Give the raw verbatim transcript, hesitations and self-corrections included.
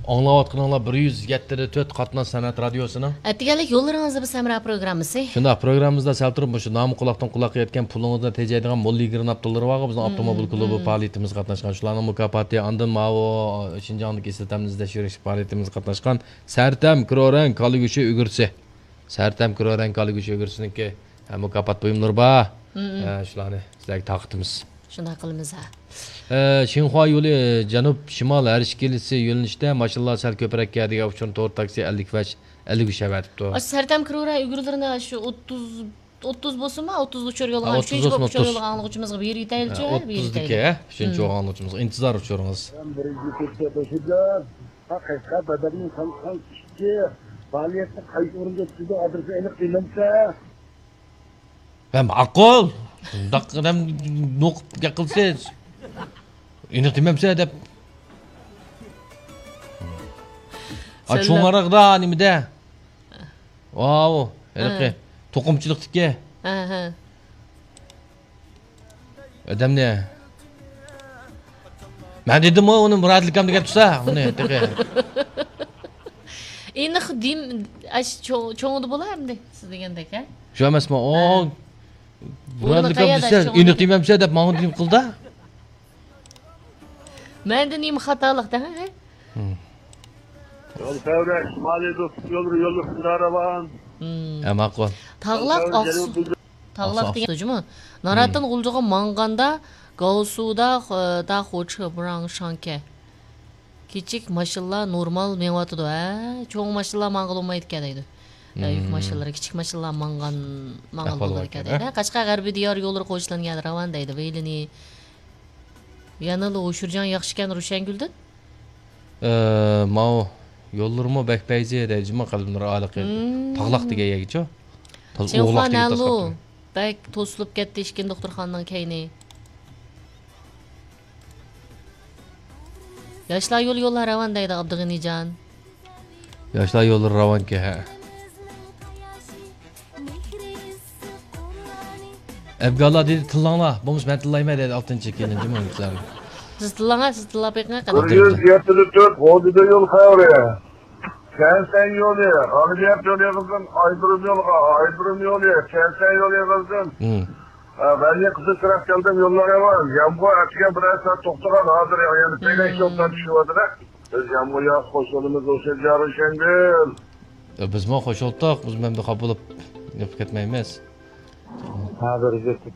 ئاڭلاۋاتقىنىڭلار بىر يۈز يەتتە دە تۆت قاتناش سەنئەت رادىيوسىنىڭ. ئەتىگەنلىك يوللىرىڭىزدا بىز ھەمراھ پروگراممىسى. شۇنداق، پروگراممىمىزدا سەل تۇرۇپ مۇشۇ نامى قۇلاقتىن قۇلاققا يەتكەن پۇلىڭىزنى تېجەيدىغان موللا يىگىرمە ئابدۇللىرىغا بىزنىڭ ئاپتوموبىل كۇلۇبى پائالىيىتىمىزگە قاتناشقان، شۇلارنىڭ مۇكاپاتى، ئاندىن ماۋۇ شىنجاڭدىكى ئىشلىتەمنى ئىزدەش يۈرۈش پائالىيىتىمىزگە قاتناشقان سەرتەم كرورەڭ كالا گۆشى ئۈگرىسى. سەرتەم كرورەڭ كالا گۆشى ئۈگرىسىنىڭكى، ھە، مۇكاپات بۇيۇملىرى بار. ھە، شۇلارنى سىلەرگە تارقىتىمىز. شۇنداق قىلىمىز ھە. ئە، شىنخۇا يولى جەنۇب شىمال ھەرىكەتلىسى يۆنىلىشىدە ماشىنىلار سەل كۆپرەك كەلدى، ئۇچۇرنى تور تاكسى ئەللىك بەش، ئەللىك ئۈچ ئەۋەتىپتۇ. ئاشۇ سەرتەم كرورا ئۆگرىلىرىنى شۇ ئوتتۇز، ئوتتۇز بولسىمۇ، ئوتتۇز ئۇچۇر يولغا، ھە، ئۈچىنچى بولۇپ ئۇچۇر يولغا ئاڭلىغۇچىمىزغا بېرىۋېتەيلىچۇ، ھە، ھە، بېرىۋېتەيلى. ئوتتۇزدىكى، ھە، ئۈچىنچى يولغا ئاڭلىغۇچىمىزغا ئىنتىزار ئۇچۇرىڭىز. بىرىنچى كەچتە توشىدىغان ھەقىقەت بەدەلنىڭ سان سان ئىككى پائالىيەتنى قايسى ئورۇندا ئۆتكۈزدى، ئادرېسىنى ئېنىق دېمەمسە؟ ھە، ماقۇل. شۇنداق ئادەم نوقۇپ گەپ قىلسىز. ئېنىق دېمەمسە دەپ. ئا، سەللەم. چوڭ ئارىغىدا نېمىدە؟ ۋاۋ، ھېلىقى ھە. توقۇمىچىلىقتىكى. ھە، ھە. ئادەمنى. مەن دېدىمغۇ ئۇنى مۇرادىلكام دېگەن تۇرسا، ئۇنى تېخى. ئېنىق دېم-، ئاش-، چوڭ-، چوڭىدا بولا ئەمدى، سىز دېگەندەك، ھە؟ شۇ ئەمەسمۇ؟ ئۇ ھە. مۇرادىلكام دېسە، ئېنىق دېمەمسە دەپ ماڭا دېيىپ قىلدا. مەندە نېمە خاتالىق دەڭ، ھە؟ يول تەۋرەش، شىمالىي دوستلۇق يوللىرى يوللۇق راۋان. ھە، ماقۇل. تاغلاق ئاقسۇ. تاغلاق دېگەن جۇمۇ. ناراتىن غۇلجىغا ماڭغاندا گاۋسۇدا، خ-، دا خوچې بۇراڭ شاڭكە. كىچىك ماشىنىلار نورمال مېڭىۋاتىدۇ، ھە؟ چوڭ ماشىنىلار ماڭغىلى بولمايدىكەن دەيدۇ. ھە، يۈك ماشىنىلىرى، كىچىك ماشىنىلار ماڭغان، ماڭغىلى بولىدىكەن دەيدۇ. ھە، قەشقەر غەربىي دىيار يوللىرى قوشۇلغان يەردە راۋان دەيدۇ. ۋېيلىنى. يەنىلا ھوشۇرجان ياخشىكەن روشەنگۈلدىن. ئە، ماۋۇ يوللىرىمۇ بەك پەيزى دەيدۇ جۇمۇ قەلبىنۇر ئالىقى. تاغلاق دېگەن يەرگىچۇ. تاز-، ئوغلاق دېگەن تاز قاپتۇ. بەك توسۇلۇپ كەتتى ئىشكىن دوختۇرخانىنىڭ كەينى. ياشلار يولى يوللار راۋان دەيدۇ ئابدۇغېنىجان. ياشلار يوللىرى راۋانكى، ھە. ئەبگاللا دېدى، تىللاڭلار. بولمىسا مەن تىللايمەن دېدى ئالتىنچى كېلىن جۇمۇ سىلەرنى. سىز تىللاڭلار، سىز تىللاپ بېقىڭ قېنى. بىر يۈز يەتتە تۆت غوجىدا يول خەۋىرى. كەنسەن يولى، غالىبىيەت يولى يېغىزدىن، ئايدۇرۇم يولىغا، ئايدۇرۇم يولى، كەنسەن يولى يېغىزدىن. ھە، بەلگە قىزىل چىراغ كەلدىم، يوللار يامان. يامغۇر ئەتىگەن بىرەر سائەت توختىغان، ھازىر يەنە پەيلەش يولدىن چۈشۈۋاتىدۇ. بىز يامغۇر ياغسا خوش بولىمىز، ئوشۇ جارى شەڭگۈل. ئە، بىزمۇ خوش بولدۇق، بىز مەن بىر خاپا بولۇپ نېپىپ كەتمەيمىز. ھازىر يېتىپ